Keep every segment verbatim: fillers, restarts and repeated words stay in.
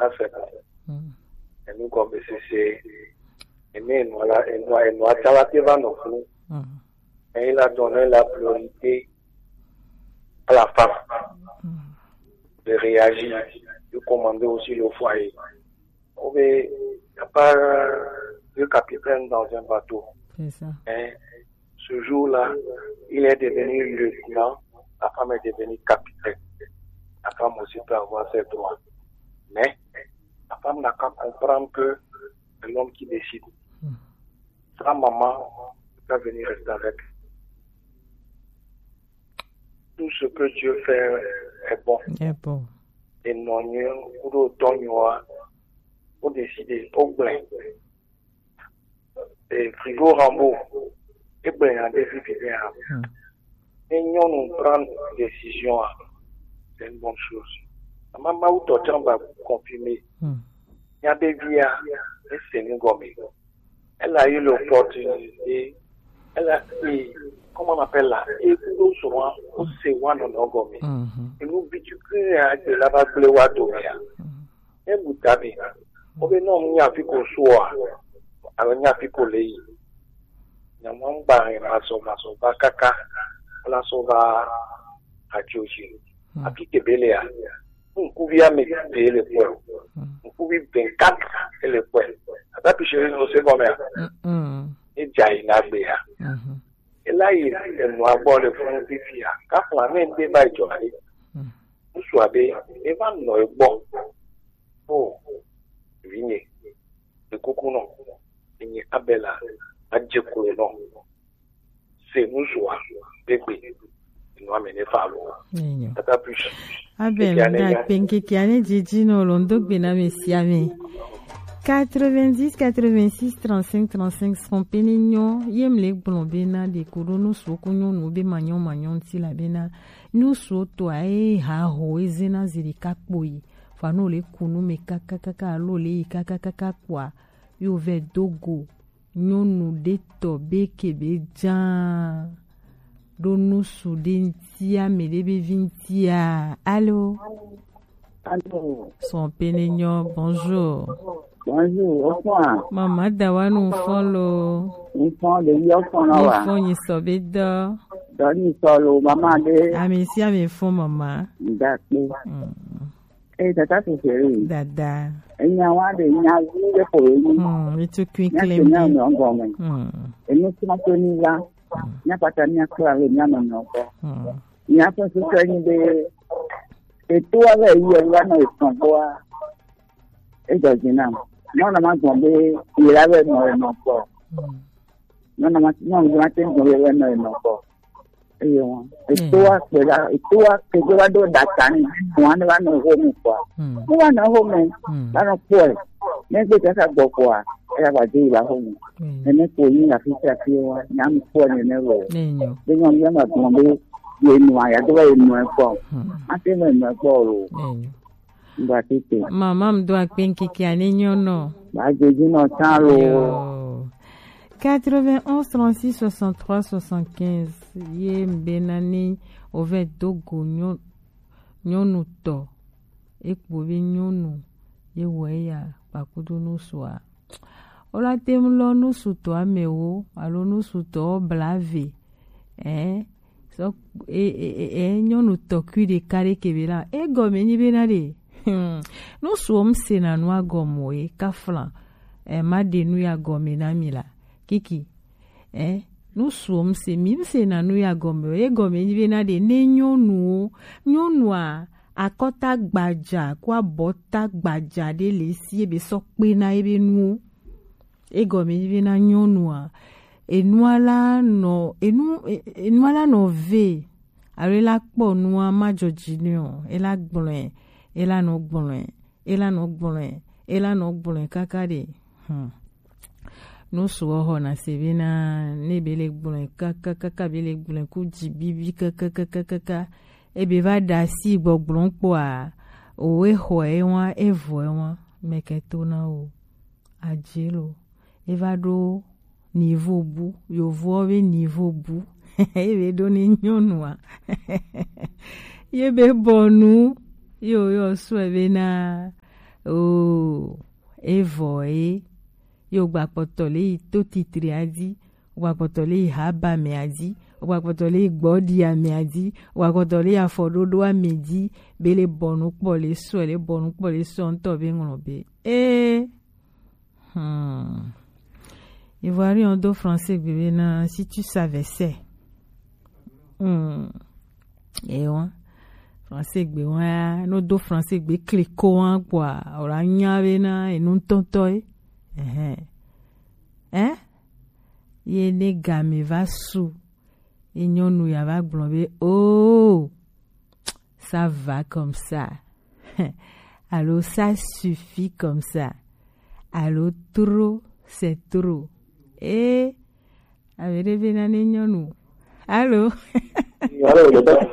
Ça, c'est bon. Mm. Et nous, comme C C, et nous, et nous, là, et nous, et nous, ça va te va non plus. Mm. Et il a donné la priorité à la femme de réagir, de commander aussi le foyer. Il n'y a pas de capitaine dans un bateau. C'est ça. Hein? Ce jour-là, il est devenu lieutenant, la femme est devenue capitaine. La femme aussi peut avoir ses droits. Mais la femme n'a qu'à comprendre que c'est l'homme qui décide. Hmm. Sa maman va venir rester avec. Tout ce que Dieu fait est bon. Est bon. Et non, on décide au plein. Et Frigo Rambo, et bien, des filles, bien. Hmm. Et nous, nous prendre décision, hein. C'est une bonne chose. Maman, où t'as confirmé. Hmm. Il y a des vies, hein, et c'est nous, gomme. Elle a eu l'opportunité. Elle a eu, comment on appelle là? Et nous, souvent, on sait, on a gomme. Mhm. Et nous, bitu que, hein, de la vague, le wa, domé, hein. Hmm. Ebu tabi. Obe no nya fi ko suo a. Alo nya fi ko lei. Nya mo ngba he maso maso ba kaka. Ola so ba ajoji. Hmm. Afi ke bele a. Nkubi a me bele ko. Hmm. Nkubi ben kat ele ko. Ata pishiri no se gome a. Mm-mm. E jai na gbe a. Mm-hmm. Ela yi enu agbɔ le funu fifia. Kafla ne ŋde va dzɔ ɖe. Hmm. Ŋutsua be eva nɔ egbɔ. O, vinye, ekuku nɔ. Enye Abela, adze klo nɔ. Se ŋutsua be gbe. Enua me ne fa lo. Enyo. Tata push. Abel, da kpenkeke ane dzidzi no lo ndo gbe na me sia me. Quatre-vingt-dix, quatre-vingt-six, trente-cinq, trente-cinq, srɔ̃ pene nyɔ, ye mle gblɔ bena ɖeko ɖo nu suku nyɔnu be manyɔ manyɔ ŋuti la bena nu suɔ tɔa ye ha ho ezena zi ɖeka kpoyi. Fa no le kunu me kakakaka alo le yi kakakaka kpoa yo vɛ do go nyɔnu ɖe tɔ be ke be dzaa ɖo nu su ɖe ŋutia, me ɖe be vi ŋutia. Alo? Alo. Sɔn pene nyɔ, bonjour. Bonjour, o fɔn a? Mama da wa nu fɔn lo. Nu fɔn ɖe yɔ fɔn na wa. Nu fɔn nyi sɔ be dɔ. Dɔ nyi sɔ lo, mama ɖe. Ami si ami fɔn mama. Dakpe. Mm. Ee, tata sese. Dada. Enya wa ɖe nya vi ɖe ko ye nyi. Hmm, mi tu kui nya klem. Nya nɔ gɔme. Hmm. Enu sima to ni la. Hmm. Nya pata nya kla le nya nɔ nɔ gbɔ. Hmm. Nya fɛ sese nyi be eto wa le yi wa nɔ etɔn gbɔa. Edzɔ dzi nam. Nɔ na ma gbɔ be yi la be nɔ enɔ gbɔ. Hmm. Nɔ na ma, nɔ na ma te gbɔ be nɔ enɔ gbɔ. Eye wọn. Eto wa kpe la, eto wa kpe do wa do data ni. Wọn ne wa nɔ home kɔa. Hmm. Ne wa nɔ home, hmm, wa nɔ kpɔe. Ne gbe kaka gbɔ kɔa, eya wa de yi la home. Hmm. Ene ko yi la fi sia fi wa, nya mi kpɔ ne ne lo. Enyo. Be nyɔ mi ma gbɔ be ye nu aya do wa ye nu kpɔ. Hmm. Ma te me nu kpɔ lo. Enyo. Mba tete. Mama, m do akpe ŋkeke ane nyɔ nɔ. Ba jeji nɔ tan lo. Yo. Quatre-vingt-onze, trente-six, soixante-trois, soixante-quinze. Ye mbe na ni ove dogo nyɔ-, nyɔnu tɔ. Ekpo be nyɔnu. Ye wɔ eya, kpakudo nu sua. Ola tem lɔ nu sutɔ amewo, alo nu sutɔ blave. Eh, sɔ, e, e, e, e, nyɔnu tɔkui ɖeka ɖe ke be la. Egɔme nyi be na ɖe. Hmm. Nu suɔ m se na nu agɔme o, e kafla. Eh, ma ɖe nu ya gɔme na mi la. Kiki. Eh, nu suɔ m se, mi m se na nu ya gɔme o. Egɔme nyi be na ɖe ne nyɔnuwo. Nyɔnua, akɔta gbaja, ko abɔta gbaja ɖe le si ebe sɔ kpe na ebe nuwo. Egɔme nyi be na nyɔnua, enua la nɔ, enu, e-, enua la nɔ ve, alo ela kpɔ nua ma dzɔ dzi nɛ o, ela gblɔe, ela nɔ gblɔe, ela nɔ gblɔe, ela nɔ gblɔe kaka ɖe. Hmm. Nu suɔ xɔna se be na, ne be le gblɔe kaka, kaka be le gblɔe ku dzi bibi kaka, kaka, kaka, ebe va da si gbɔgblɔ kpɔa, o exɔ e wa, evɔ e wa, mɛkɛ to na o. Adze lo. Eva ɖo niveau bu. Yovowo be niveau bu. Ebe ɖo ne nyɔnua. Ye be bɔ nu. Yo, yo, sɔe be na Oh, evɔ ye. Yo gbakpɔtɔ le yi to titri adi, gbakpɔtɔ le yi haba me adi, gbakpɔtɔ le yi gbɔdi ame adi, gbakpɔtɔ le yi afɔɖoɖo ame di, be le bɔnu kpɔ le sɔ, le bɔnu kpɔ le sɔ ŋutɔ be ŋlɔ be. Eh. Hmm. Ivoiriens do français gbe be na si tu savais c'est. Hmm. E wa. Français gbe wa, no do français gbe kliko wa kwa. Ora nya be na enu ŋutɔŋutɔ ye. Ehe. Eh? Ye ne game va su. Ye nyɔnu ya va gblɔ be, oh, ça va comme ça. Alo ça suffit comme ça. Alo trop, c'est trop. Eh, ave ɖe be na ne nyɔnu. Allô? Allô, le père.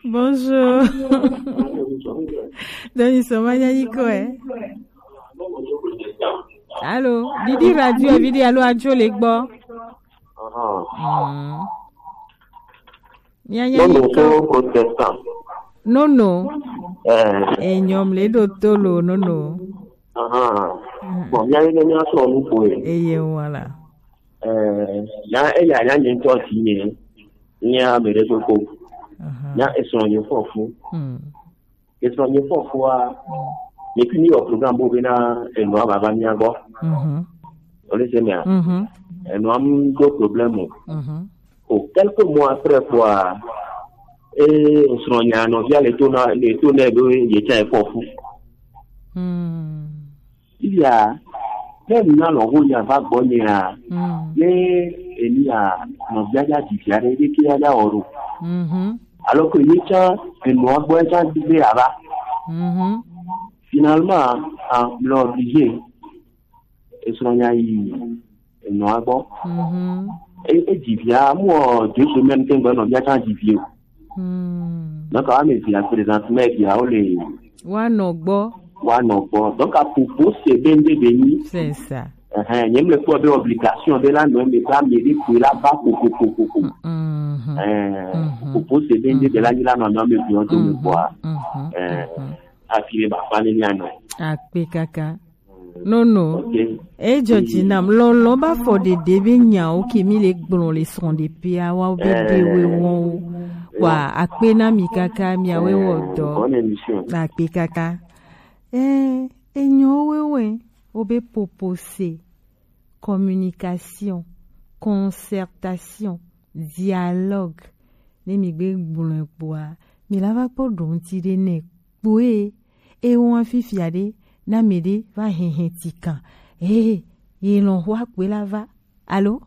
Bonjour. Donc, ils sont Manyanyiko, eh? Allô? Didi radio, Didi, allô, radio, les gbo. Ah. Hmm. Mia nya Nono yi ko protestant. Nono. Eh. Enyɔm le do to lo nono. Aha. Mm. Bon, mia yi ne mia sɔ nu ko e. Eye wala. Eh, ya e ya ya nye ntɔ si nye. Nya me re ko ko. Aha. Ya e sɔ nye fɔ fu. Mm. Esɔ nye fɔfua, ne fi mi wɔ program bo bena enua baba mia gbɔ. Mhm. Ole se mea? Mhm. Enua mu do problème o. Mhm. O quelques mois après quoi, e osrɔ̃ nya nɔvia le to na, le to nɛ be ye tsã efɔ fu. Hmm. Iya, ne na lɔ ho ya va gbɔ nyea, mm, ne enia nɔvia ya di via ɖe, ɖe ke ya ya wɔ ɖo. Mhm. Alors que ye tsã enɔa gbɔ tsã di be ava. Mhm. Finalement, ah, mle obligé esrɔ̃ nya yi enɔa gbɔ. Mhm. E, e di via, mu o deux semaines ke ŋgbe nɔvia tsã di vi o. Hmm. Donc, ame via présente, mais via o le. Wa nɔ gbɔ. Wa nɔ gbɔ. Donc, à propos, c'est bien de béni. C'est ça. Ɛhɛn, nye mle kpɔ be obligation be la nɔ me ba me de ko la ba ko ko ko ko ko. Mhm. Ɛɛ, mhm, propos c'est bien de la ni la nɔ nɔ me bi o to me kpɔ a. Mhm. Ɛɛ, mhm, afi le ba fa ne nya nɔ. Akpe kaka. Nono. Ok. Ejɔ dzi nam. Lɔlɔ ba fɔ ɖeɖe be nyawo ke mi le gblɔ le srɔ̃ɖeƒea wa be, eh, ɖewe wɔwo. Wa akpe na mi kaka miawe wɔ dɔ. Bonne émission. Akpe kaka. Eh, enyo wewe. Wo be popose, communication, concertation, dialogue. Ne mi gbe gblɔe kpoa, mi la va kpɔ ɖo ŋuti ɖe nɛ kpoe. E wɔn fifia ɖe, na mi ɖe va hɛhɛ ti kan. Ee, ye lɔn xɔ akpe la va. Allô?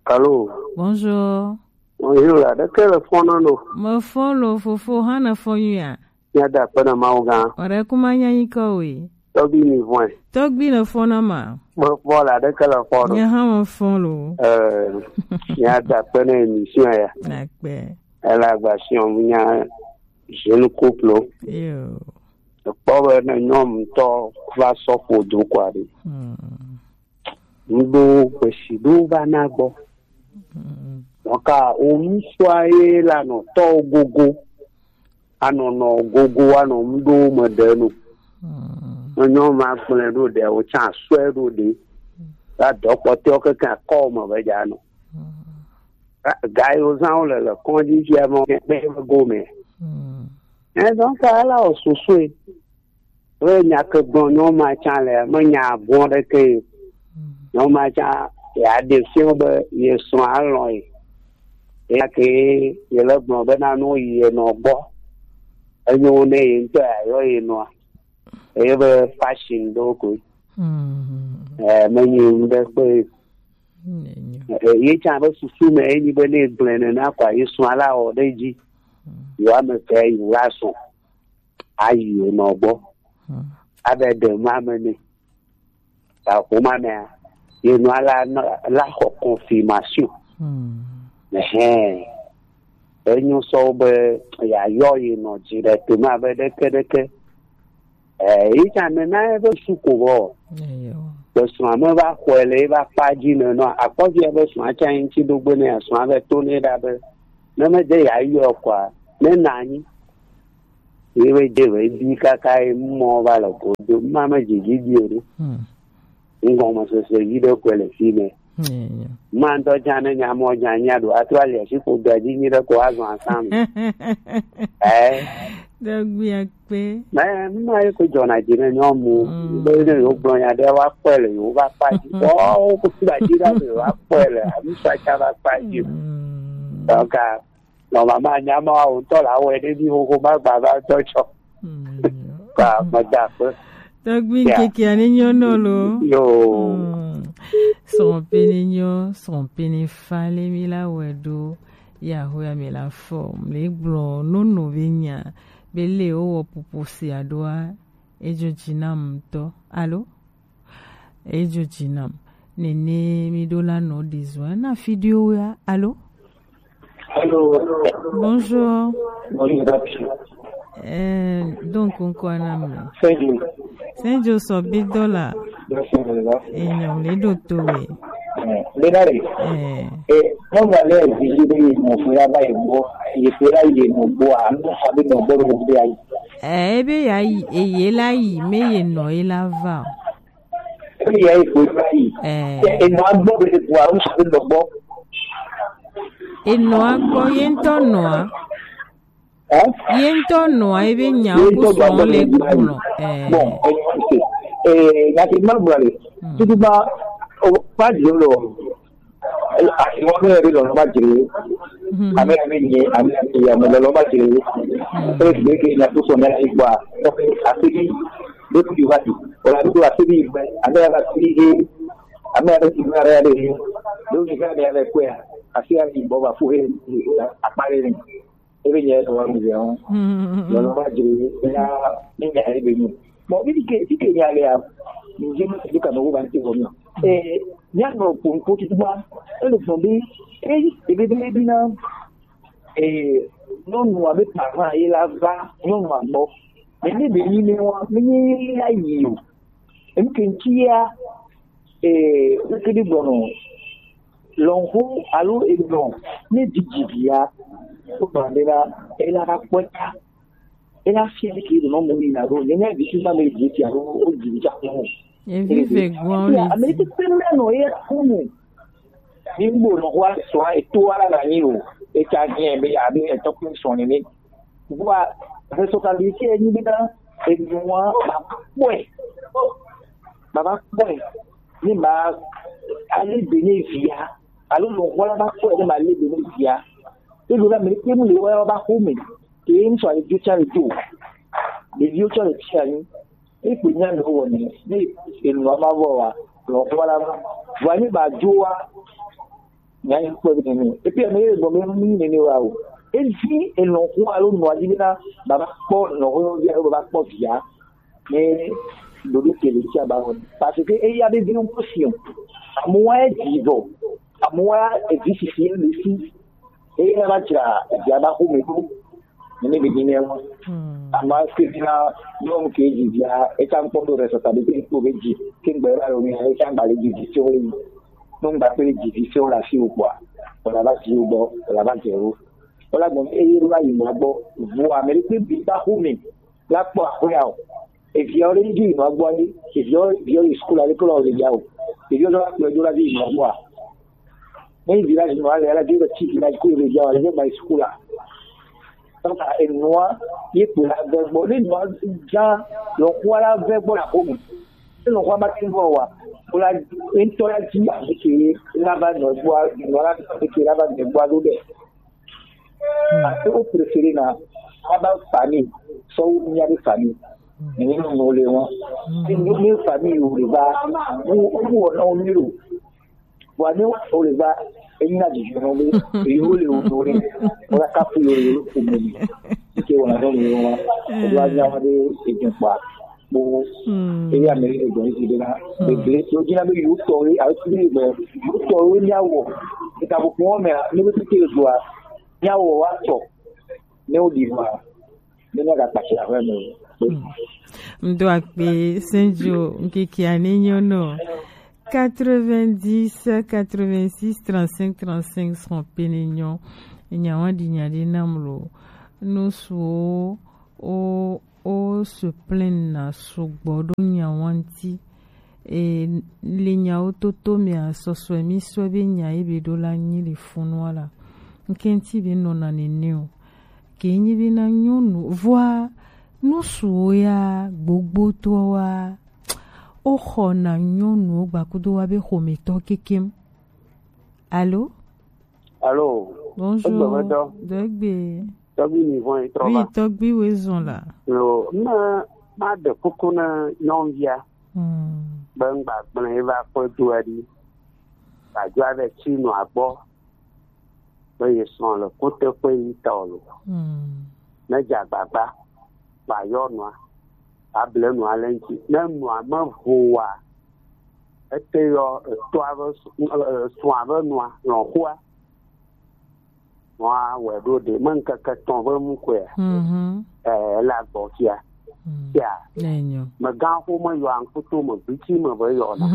Allô? Bonjour. Bonjour, la ɖeke le fɔn na no. Me fɔn lo fofo hã ne fɔn yuia. Mía da akpe na Mawu gã. Ɔɖe kuma nya nyikɔ we. Tɔgbi mi vɔe. Tɔgbi le fɔn na ma. Me fɔ la ɖeke le fɔn no. Nye hã me fɔn lo. Eh, mía da akpe na émission ya. Akpe. Ele agbasiɔn nya jeune couple. Yo. Ekpɔ be ne nyɔnu tɔ va sɔ ƒo do kɔ aɖe. Hmm. Ŋɖo gbesi ɖo va na gbɔ. Hmm. Dɔnka wo ŋsua ye la nɔ tɔ gogo. Anɔ nɔ gogo anɔ ŋɖo me ɖe no. Hmm. Ne nyɔnu ma gblẽ ɖo ɖe, wo tsã asɔe ɖo ɖe. La dɔ kpɔtɔewo keke akɔ me be dza nɔ. Hmm. Ga yiwo zã wole le kɔdzi fia mɔ be gome. Hmm. Ɛ, donc, ala wɔ sosoe. Be nya ke gblɔ nyɔnu ma tsã le, menya bɔ ɖeke ye. Hmm. Nyɔnu ma tsã, ya ɖe fiɔ be ye srɔ̃ alɔ̃ ye. Eya ke ye le gblɔ be na no yi ye nɔ gbɔ. Enyo ne ye ŋutɔ ya yɔ ye nɔa. Eye be fashion ɖo koe. Hmm. Eh, menyi ŋɖe kpe. Enyo. Eh, ye tsã be susu me enyi be ne gblẽ nena kɔa, ye srɔ̃ la wɔ ɖe edzi. Hmm. Yewo ame eve yi la srɔ̃. Ayi wo nɔ gbɔ. Hmm. Abe ɖe ma me ne. Ta ƒoma mea, ye nɔa la, la xɔ confirmation. Hmm. Ɛhɛn. Enyo sɔ be yeayɔ ye nɔ dzi ɖe to ma be ɖeke ɖeke. Eh, yi tsã nena ye be su ko vɔ. Eyo. Be srɔ̃a me va xɔe le ye va kpa dzi ne nɔ akpɔvia be srɔ̃a tsã ŋuti ɖo gbe ne srɔ̃a be to ne ɖa be ne me de yeayɔ kɔa, ne na anyi. Ye be je be bi kaka ye mɔ va le godo. Ma me dzi dzi bi o ɖo. Hmm. Ŋgɔmesese yi ɖe kɔe le fi mɛ. Hmm. Ma ŋutɔ dza ne nya mɔ dza nya ɖo ato ali asi ko da dzi nyi ɖe ko azɔ asam. Eh. Dɔgbi akpe. Mɛ, ma ye ko dzɔna dzi ne nyɔnu. Mm. Be ne yo gblɔ nya ɖe wa kpɔe le yo va kpa dzi. Oh, ko fi da dzi ɖa le wa kpɔe le. Ami sa tsa va kpa dzi. Mm. Donc, ah, normalement, nya ma wo ŋutɔ la wɔe ɖe mi xoxo ma gba va tɔ tsɔ. Mm. Ka me da akpe. Tɔgbi, yeah, ŋkeke ane nyɔ nɔ lo. Yo. Mm. Srɔ̃ pe ne nyɔ, srɔ̃ pe ne fa le mi la wɔe ɖo. Ya ho ya me la fɔ. Me gblɔ nono be nya. Be le wo wɔ pupu si aɖoa. Edzo dzi nam ŋutɔ. Alo? Edzo dzi nam. Nene mi ɖo la nɔ ɖe zua na fi ɖewo ya. Alo? Allô. Bonjour. Bonjour, papi. Eh, donc, on quoi, nam? Senjo. Senjo so bi dola. Enyo, le do to we. Eh, le dare. Eh. Eh, non, ma le, je dis, mo fo ya ba e mo, e fo ya ye mo bo, a, no, sabe no bo, no bo ya. Eh, ebe ya yi, e ye la yi, me ye no, e la va. Ebe ya yi, fo ya yi. Eh. E, e no a bo, be, bo, a, no, sabe no bo. E no a bo, ye nto no a. Hein? Ye ŋutɔ nɔa ebe nyawo ku sɔn le gblɔ. Eh. Bon, eh, eh, nya ke ma gblɔ le. Hmm. Tutu ba, o, ba dzi lo. Asi wɔn mi ebe lɔlɔ ba dzi. Hmm. Ame ebe nye, ame ebe ya me lɔlɔ ba dzi. Hmm. Ebe ke nya ku sɔn na igba. Asi bi, be ku va ti. O la du asi bi, ame ya ti. Ame ya ti na ya de. Do ni ka de ya de kwa. Asi ya ni bo ba fu he. Akpare ni. Ebe nye etɔ wa mi vɛ hɔn. Hmm. Lɔlɔ ma dze ya mi nya ebe nyi. Bon, mi ke, mi ke nya le ya. Mi dze mi ke ka no wo ba ti ko mi. Eh, nya no ko ko ti ba. Ele fun bi. Eh, ebe be bi na. Eh, no no abe papa ye la va, no no agbo. Mi ni be ni ne wa, mi ni ya yi o. Em ke ntia. Ee, wokedi gbɔnɔ lɔnxo alo elɔn ne didi via, wogblɔ be la, ela va kpɔe ta. Ela fia ke do nɔ mo ni na do ne ne vi ti ma me di ti alo o di ja ko. Evi ve gbɔn le ame ti pe me no ye ko mo. Ni gbo no wa so a to ala na ni o. E ta ni e be abi e to ko so ni ni. Vɔa, responsabilité ye nyi bena enua ba kpɔe. Ba va kpɔe. Ne ma ale be ne via. Alo lɔnxɔ la va kpɔe ne ma le be ne via. Elo la me ke mu le wa ba xome. Ke ŋutsu ale dzo tsa le dzo. Ɖeviwo tsɔ le tsi anyi. Ekpe nya ne wowɔ ne, ne enua ma vɔ wa, lɔnxɔ la va. Vɔa ne ba dzo wa, nya yi kpɔe be nene. Epi ame ye gbɔ be mi nene wa o. Edi elɔnxɔ alo nɔa dzi bena baba kpɔ lɔnxɔ via alo baba kpɔ via. Ne ɖoɖo ke le tsia ba wɔni. Parce que eya be viwo ŋkɔ si o. Amewo ya dzi vɔ. Amewo ya evi sisi le si. Eya va dzra via ba xome ɖo. Ne be dzi ne wa. Hmm. Ama ke na nyɔnu ke dzi via, eka ŋkpɔ ɖo responsabilité ko be dzi. Ke ŋgbe va lo mi, eka ŋgba le dzi vi tso le. No ŋgba pe dzi vi tso la si o kpɔa. Wala va dzi o gbɔ, wala va dze o. Wala gbɔ, eye ɖo la yi ma gbɔ. Vo ame ɖe kpe bi ba xome. La kpɔ axɔe o. Eviawo ɖe dzi yinɔ gbɔ anyi. Eviawo, viawo yi sukulu ale kple le ya o. Eviawo la kplɔe do la dzi yinɔ gbɔa. Ne yi village nɔ ale ala dzi be tsi village ko le ya o, ale dzi ba yi sukulu la. Donc enua ye kpo la ve gbɔ. Ne nua dza lɔkua la ve gbɔ la ko mu. Ne lɔkua ma ti vɔ wa. Ko la ŋutɔ la dzi afi ke la va nɔ gbɔa, nɔ la afi ke la va nɔ gbɔa do ɖe. Hmm. Ate wo préféré na aba famille, sɔ wo mia de famille. Hmm. Ni no no le won. Hmm. Ni no ni famille wo le ba. Wo wo na o ni ro. Wa ni o le ba. Eyin na di no le. E yo le o no le. O la ka fu yo le o ku mi. Ke wona no le won. O wa nya wa de e jin pa. Kpo. Hmm. Eya me e gbɔn si de na. Hmm. Be be to jina be yo to e a ti be yo to e nya wo. E ka bo ko me ni be ti ke do a. Nya wo wa to. Ne o di wa. Ne na ka pa si a me. Hmm. Ŋdo akpe, Senjo, ŋkeke ane nyɔ nɔ. Quatre-vingt-dix, quatre-vingt-six, trente-cinq, trente-cinq, srɔ̃ pe ne nyɔ. Nya wa di nya de nam lo. No suo. o o se plaindre na sugbɔ ɖo nyawo ŋuti. E, le nyawo toto mea, sɔsɔe mi sɔe be nya ye be ɖo la nyi le funua la. Ŋkɛnti be nɔna nene o. Ke nyi be na nyɔnu, vɔa, nusuwo ya, gbogbotoa wa, o xɔ na nyɔnuwo gbakudo wa be xometɔ kekem. Allô? Allô? Bonjour. Egbe me dɔ. Degbe. Tɔgbi mi vɔn yi trɔ Oui, va. Tɔgbi we zɔn la. Yo, ma, ma de kuku na nyɔnvia. Hmm. Be ŋgba gblẽ ye va kpɔ dua ɖi. Gbadzua be tsi nɔ agbɔ. Be ye srɔ̃ le kuteƒe yi ta o lo. Hmm. Ne dze agbagba, ba yɔ nɔa, ba ble nɔa le ŋuti. Ne nɔa me vo wa, ete yɔ etɔa be su-, e, e, srɔ̃a be nɔa, lɔ̃xoa. Nɔa wɛ ɖo ɖe, me ŋkeke etɔ̃ be nu koe. Mhm. Eh, ele agbɔ fia. Mm. Fia. Enyo. Megã xo me yɔ aŋkuto me, gbiti me be yɔ na.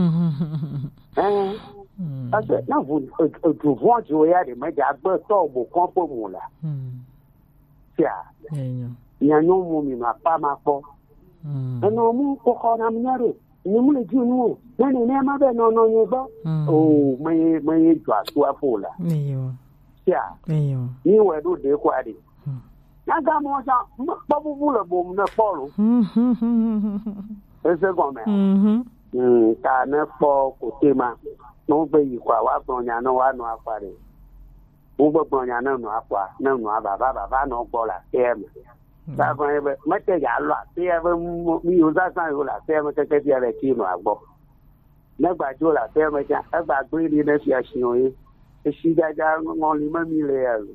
Eh, Mm. Parce que na vo, e, e, du vɔn jo ya ɖe, me dza gbe tɔ bo kɔn ƒe mu la. Mm. Fia. Enyo. Nya nyɔ mu mi ma pa ma kpɔ. Mm. Enɔ mu kpɔ xɔ na mi nya ɖo. Nye mu le dzi nu o. Ne nene ma be nɔ nɔ nye gbɔ. Mm. O, me ye, me ye dzɔ asu afo la. Eyo. Sia. Eyo. Ni wɛ ɖo ɖe kɔ aɖe. Mm. Na ga mɔ sa, me kpɔ bubu le bom ne kpɔ lo. Ese gɔme. Mhm. Mm, ta ne kpɔ kote ma. No be yi kwa wa gblɔ nya ne wa nɔ akpa ɖe. Wo gbegblɔ nya ne nɔa kpɔa, ne nɔa vava, vava nɔ gbɔ le aƒea me. Mm. Vavã ye be, mete ya lɔ aƒea be mo-, mi yo zazã yo le aƒea me keke fia le ti nɔa gbɔ. Ne gba dzo le aƒea me tsã, egba gblẽ ɖi ne fia si o ye. Esi dzadza ŋɔli me mi le ya lo.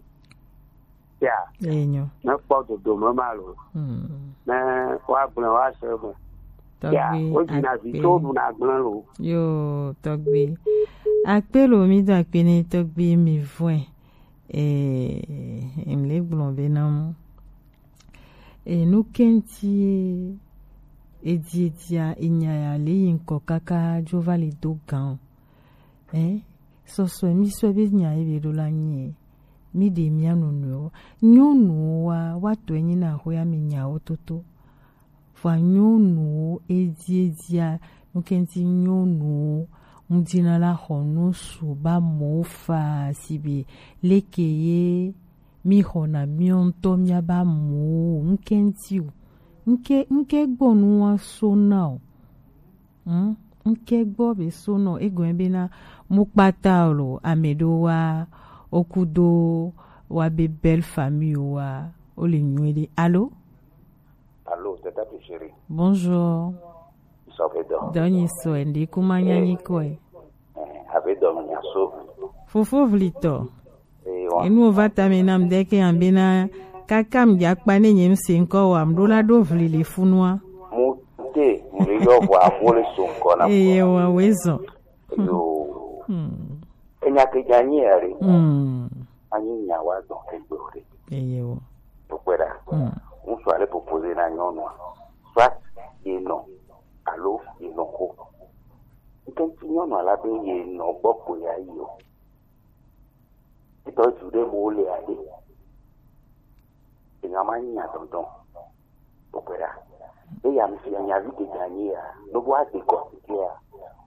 Ya. Enyo. Ne kpɔ dodome ma lo. Mm. Ne woagblẽ woase eme. Ya, Tɔgbi, wodzi na vi akpe. Tso ɖu na gblẽ lo. Yo, tɔgbi. Akpe lo, mi do akpe ne tɔgbi mi vɔe. Eh, em le gblɔ be na mu. E nu kɛnti e, e di, e dia, e nya ya le yi ŋkɔ kaka dzo va le do gan. Eh, sɔsɔe mi sɔe be nya ye be ɖo la nyi. Mi ɖe mia nɔnɔewo. Nyɔnuwo wa, wa tɔe nyi na xoya mi nyawo toto. Vɔa nyɔnuwo, edi, edia, nukɛnti nyɔnuwo, ŋdina la xɔ nu su ba mɔwo fa sibe leke ye mi xɔna miɔ ŋtɔ mia ba mɔwo, ŋkɛnti o. Ŋkɛ, ŋkɛ gbɔ nu wa so na o. Hmm? Ŋkɛ gbɔ be so nɔ, egɔn be na mu kpata o lo, ame ɖo wa, okudo wa be belle famille wa, o le nyuie ɖe. Allô? Allô, tata tu chérie. Bonjour. Sɔ ve dɔ. Dɔ nyi sɔ, ndi kuma nya nyi kɔe. Eh, ave dɔ mi nya so. Fofo vlitɔ. Eye wa. Enu va ta me nam ɖe ke ambena kaka m dza kpa ne nye m se ŋkɔ wa m ɖo la ɖo vli le funua. Mu te, mu le yɔ vɔ amo le so ŋkɔ na. Eye wa we zɔ. Yo. Hmm. Enya ke dza nyi ya re. Hmm. Anyi nya wa dɔ ke gbe o re. Eye wo. Kpekpe ɖa. Hmm. Ŋutsu ale proposer na nyɔnua. Soit ye nɔ, alo ye nɔ ko. Ŋkɛnti nyɔnua la be ye nɔ gbɔ ko ya yi o. Etɔ du ɖe mo le aɖe. Enya ma nya dɔdɔ. Kpekpe ɖa. Eya mi si nya vi ke dza nyi ya. No bo ade kɔ ya.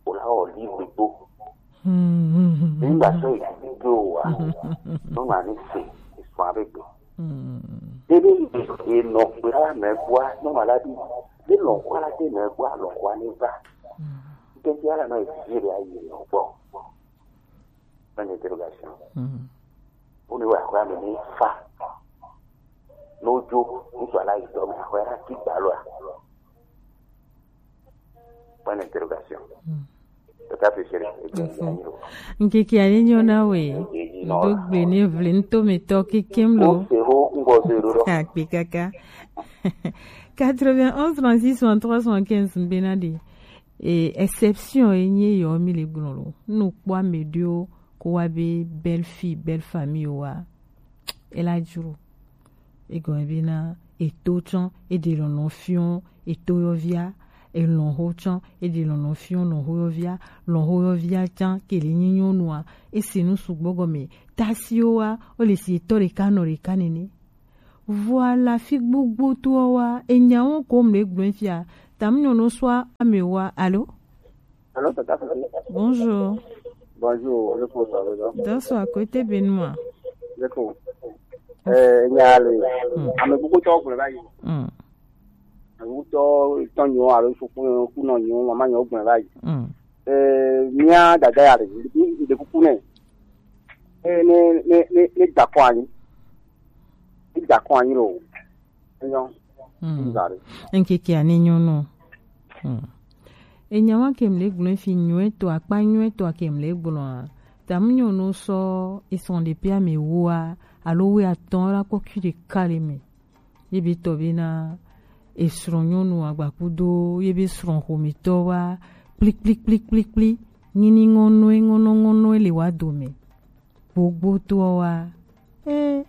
O la o li gbegbo. Hmm. Nígbà tó ìdílé wa, ló máa ní sè ìsùn abẹ́gbẹ́. Hmm. Dédé ìdè ìnà pé ara mẹ́ gbọ́, ló máa lábí, bí lọ́nkọ́ aládé mẹ́ gbọ́, lọ́nkọ́ á ní bá. Hmm. Nítorí ara náà ìdílé rẹ̀ ayé lọ gbọ́. Point d'interrogation. Hmm. Ó ní wà kó àmì ní fa. Lójó, nítorí aláìsọ mi, àkọ́ ẹ̀rá kí gbà lọ́à. Point d'interrogation. Hmm. Tata fi sere. Info. Nkeke ale nyɔ na we. Ndo gbe ne vle nto me tɔ kekem lo. O se ho, ngo se ro ro. Akpe kaka. Quatre-vingt-onze, trente-six, soixante-trois, soixante-quinze, mbena de. E exception e nye yɔ mi le gblɔ lo. Nu kpɔ ame ɖewo ko wa be belle fille, belle famille wa. E la dzro. Egɔme be na eto tsã, e ɖe lɔlɔ̃ fiɔ eto yɔvia, elɔ̃xo tsã, e ɖe lɔlɔ̃ fiɔ lɔ̃xo yɔvia, lɔ̃xo yɔvia tsã, ke le nyi nyɔnua, e se nu sugbɔ gɔme. Tasiwo wa, wo le si etɔ ɖeka nɔ ɖeka nene. Voilà, fi gbogbo to wa, e nya wo ko mle gblɔ fia. Tam nyo no swa ame wa. Allô? Allô, tata. Bonjour. Bonjour, le ko sa le. Dans à côté Benoît. Le ko. Eh, nya le. Hmm. Ame gbogbo to gblɔ báyìí. Hmm. Ame gbogbo to nyo alo suku ku no nyo, mama nyo gblɔ báyìí. Hmm. Eh, mia dada ya le. Ni de kuku ne. Eh, ne, ne, ne, ne da kwa ni. Ni da kwa ni lo. Enyo. Hmm. Nzari. Nkeke ane nyo no. Hmm. Enya wa ke mle gblɔ fi nyo eto akpa nyo eto ke mle gblɔ a. Tam nyo no so e son de pia me wo a. Alo we atɔn la ko ki de kale me. Ye be tɔ be na e srɔ̃ nyɔnu agbakudo, ye be srɔ̃ xometɔ wa, kpli, kpli, kpli, kpli, kpli. Nyini ŋɔnɔe, ŋɔnɔ, ŋɔnɔe le wa dome. Gbogbo toa wa, e,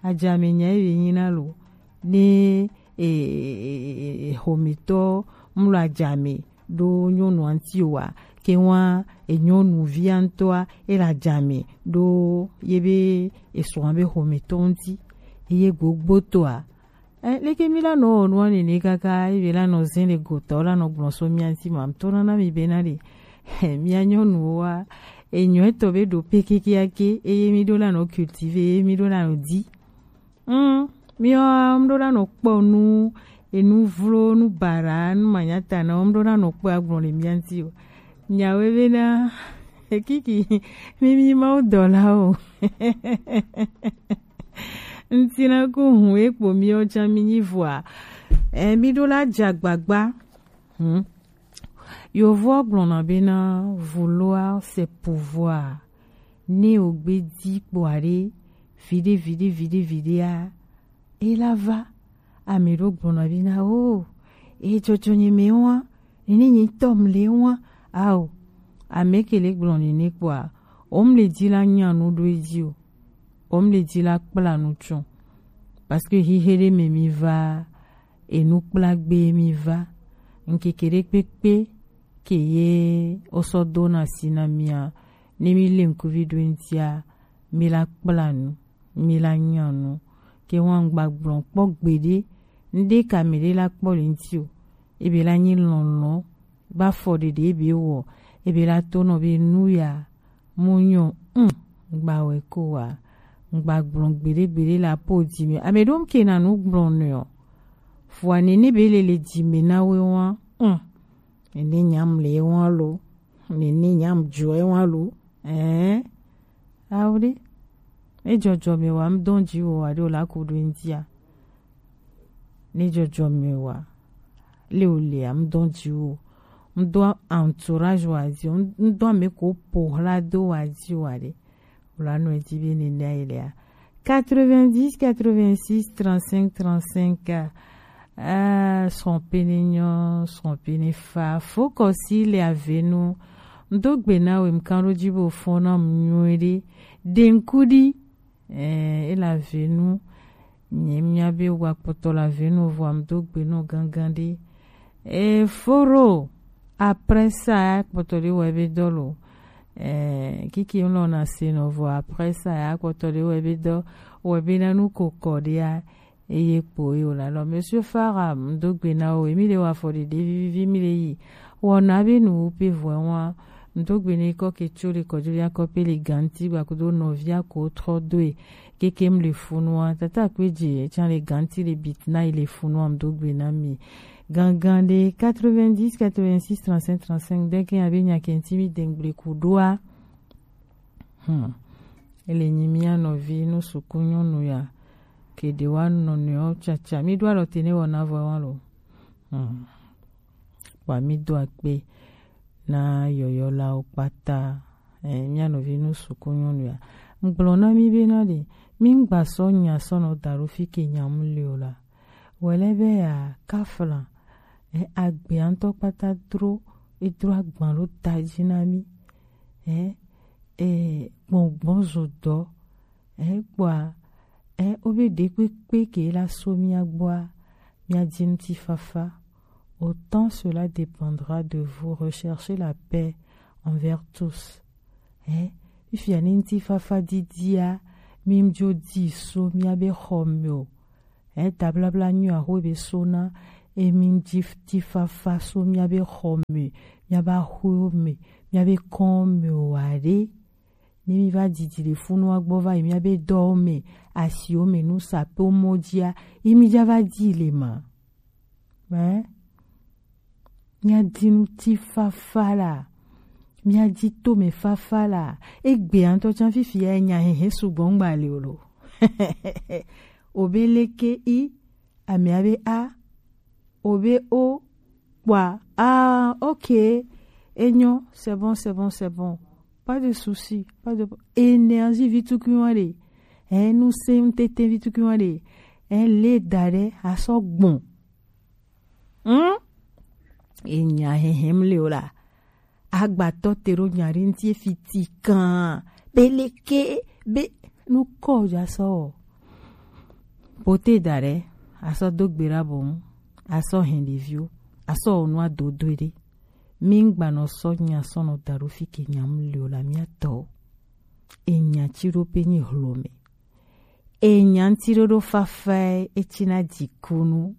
adzame nya ebe nyina lo, ne, e, e, e, e, xometɔ mlɔ adzame ɖo nyɔnua ŋuti o wa, ke wa, e, nyɔnuvia ŋutɔa, e le adzame ɖo ye be, e srɔ̃a be xometɔ ŋuti, eye gbogbo toa, e, leke mi la nɔ wɔ nua nene kaka, ebe la nɔ zin le gotɔ, la nɔ gblɔ so mia ŋuti ma, to na na mi be na ɖe, mia nyɔnuwo wa, enyɔ etɔ be ɖo pe kekeake, eye mi ɖo la nɔ cultiver, eye mi ɖo la nɔ di. Mm, mi wa, mi ɖo la nɔ kpɔ nu, enu vlo, nu bara, nu manyata na, mi ɖo la nɔ kpɔ agblɔ le mia ŋuti o. Nyawe be na, ekiki, mi, mi ma wo dɔ la o. Ŋuti na ko hun ekpo mi o tsa mi nyi vɔa. E, mi ɖo la dza gbagba. Hmm. Yovoa gblɔna bena vouloir c'est pouvoir. Ne ogbe di kpɔa ɖe, viɖe, viɖe, viɖe, viɖea, e la va. Ame ɖo gblɔna bena o, e tsɔtsɔ nye me wa, nene nye tɔ mle wa. Ao, ame ke le gblɔ nene kpɔa, o mle di la nya nu ɖo edzi o. O mle di la kpla nu tsɔ. Parce que hihe ɖe me mi va, enu kpla gbe mi va. Ŋkeke ɖe kpekpe ke ye o sɔ do na si na mia, ne mi le ŋkuvi ɖo ŋutia, mi la kpla nu, mi la nya nu. Ke wa ŋgba gblɔ kpɔ gbeɖe, ŋɖe ka mi ɖe la kpɔ le ŋuti o. Ebe la nyi lɔlɔ, ba fɔ ɖeɖe ebe wɔ, ebe la to nɔ be nu ya, mu nyɔ, mm, ŋgba wɛ ko wa, ŋgba gblɔ gbeɖe gbeɖe la po di me. Ame ɖo ke na nu gblɔ nɛ o. Fua nene be le le di me na we wa, mm. Nene nyam le wa lo, nene nyam jɔ wa lo, eh, awo ɖe. E jɔjɔ me wa, m dɔn ji wo wa ɖo la ko ɖo ŋutia. Ne jɔjɔme wa, le o le a, m dɔn ji wo, m dɔn entourage wa ji wo, m dɔn ame ko po hla do wa ji wa ɖe. Wla nɔ edzi be nene ayi lea. Quatre-vingt-dix, quatre-vingt-six, trente-cinq, trente-cinq, ah, srɔ̃ pene nyɔ, srɔ̃ pene fa, fo kɔsi le avenu. M do gbe na we, m kan ɖo ji bo fɔn na m nyuie ɖe. Denkudi. Eh, e la venu. Nye mia be wa kpɔtɔ la venu vɔ am do gbe no gangan ɖe. Eh, foro. Après ça, ya kpɔtɔ ɖe wɔ ebe dɔ lo. Eh, kiki ŋlɔ na se nɔ vɔ après ça, ya kpɔtɔ ɖe wɔ ebe dɔ, wɔ ebe na nu ko kɔ ɖea. Eye kpo ye wòle alɔ. Monsieur Farah, m do gbe na wo, emi le wa fɔ ɖeɖe vivivi, mi le yi. Wɔna be nu wo pe vɔ wa. M do gbe ne kɔ ke tso le kɔdzo ya kɔ pe le ganti gba kudo nɔvia ko trɔ do e. Keke m le funua, tata kpe je, tsa le ganti le bit na yi le funua, m do gbe na mi. Gangan de quatre-vingt-dix, quatre-vingt-six, trente-cinq, trente-cinq, de ke abe nya kenti mi dengble kudoa. Hmm. Ele nyi mia nɔvi nu suku nyɔnu ya. Ke ɖe wa nɔ nɔewo tsatsa. Mi ɖo alɔ te ne wɔna vɔ wa lo. Hmm. Wa mi do akpe na yɔyɔlawo kpata. Eh, mia nɔvi nu suku nyɔnu ya. Ŋgblɔ na mi be na ɖe, mi ŋgba sɔ nya sɔ nɔ da ɖo fi ke nya mu le o la. Wɛlɛ be ya kafla, eh, agbea ŋutɔ kpata dro, edro agban ɖo ta dzi na mi. Eh, eh, gbɔngbɔn zo dɔ. Eh, kpɔa, eh, wobe ɖekpekpe ke la so mia gbɔa, mia dzi ŋutifafa. Autant cela dépendra de vous. Recherchez la paix envers tous. Eh, fifia ne ŋutifafa didia, mi dzo di so mia be xɔ me o. Eda blabla nyo axwe be so na emi ji ti fafa so miabe xɔ me, miabe axwewo me, miabe kɔn me o wa ɖe. Ne mi va didi le funu wa gbɔ va yi miabe dɔwo me, asiwo me, nu sapewo mɔ jia, yi mi ja va di le ma. Ɛ? Miadi nu ti fafa la. Miadi tome fafa la. Egbe ŋutɔ tsã fifi ya nya hehe sugbɔ ŋgba le o lo. Obe leke i, amea be a, obe o, kpɔa, ah, ok, enyo, c'est bon, c'est bon, c'est bon. Pas de souci, pas de énergie vitukuiwa de. Enu se ŋtete vitukuiwa de. En le da ɖe asɔ gbɔn. Hmm? Enya hehem le o la. Agbatɔ te ɖo nya ɖe ŋti efi ti kan. Be leke be nu kɔ ja sɔ o. Pote da ɖe asɔ do gbe ɖa bo ŋu. Asɔ hɛn ɖeviwo. Asɔ wɔ nua dodo ɖe. Mi ŋgba nɔ sɔ nya sɔ nɔ da ɖo fi ke nya mu le o la mia tɔ. Enya ci ɖo pe nyi hlo me. Enya ŋti ɖoɖo fafae etsina dzikunu